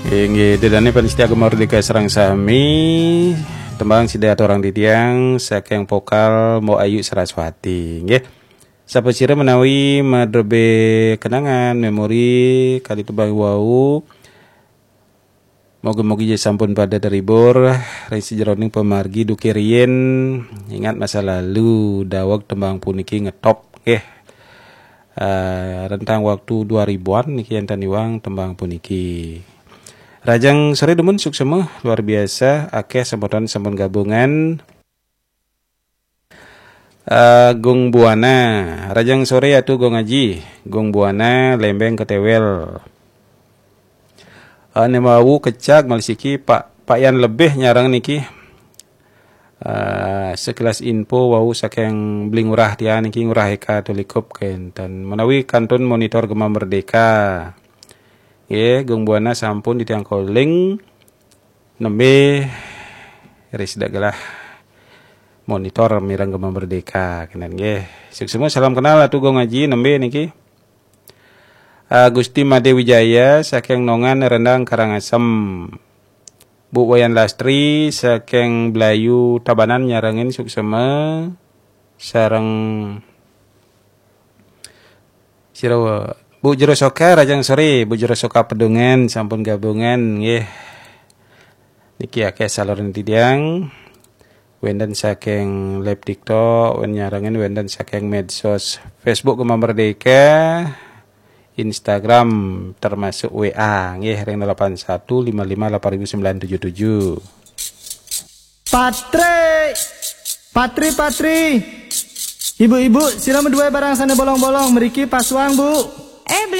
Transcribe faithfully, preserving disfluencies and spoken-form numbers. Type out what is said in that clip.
Inggih, ida dané pamiarsa Gema Merdeka sareng sami, tembang sida aturang titiang saking vokal Mbok Ayu Saraswati, nggih. Sapasira menawi madrebé kenangan, memori, kali tembang wau, mugi-mugi sampun pada terhibur ring sajeroning pamargi duké riyin. Ingat masa lalu, daweg tembang puniki ngetop, nggih. Eh, rentang waktu dua ribuan niki énten iwang tembang puniki. Rahajeng soré dumun, suksma, luar biasa, akéh semeton sampun gabungan. Eh, Gung Buana, rahajeng soré Atu Gung Aji, Gung Buana, Lembeng Ketéwél. Eh, né wau kecak malih siki Pak, Pak Yan Lebih nyarengin niki. Eh, sekilas info wau saking Beli Ngurah tiang niki, Ngurah Eka Tulikup kénten. Menawi kantun monitor Gema Merdeka. Nggih, Gung Buana sampun titiang calling. Nembé ring sida gelah monitor mireng Gema Merdeka kénten nggih. Suksma, salam kenal Atu Gung Aji nembé niki. Ah, Gusti Madé Wijaya saking Nongan Rendang Karangasem. Bu Wayan Lastri saking Blayu Tabanan nyarengin, suksma. Sareng sira Bu Jero Soka, rahajeng soré, Bu Jero Soka Pedungan sampun gabungan nggih. Niki akéh saluran titiang. Wénten saking live TikTok, wénten nyarengin, wénten saking medsos Facebook Gema Merdeka, Instagram, termasuk W A nggih, ring delapan satu lima lima delapan ribu sembilan tujuh tujuh. Patri, Patri, Patri. Ibu-ibu, sira madué barang sané bolong-bolong, mriki pasuang, Bu. Eh,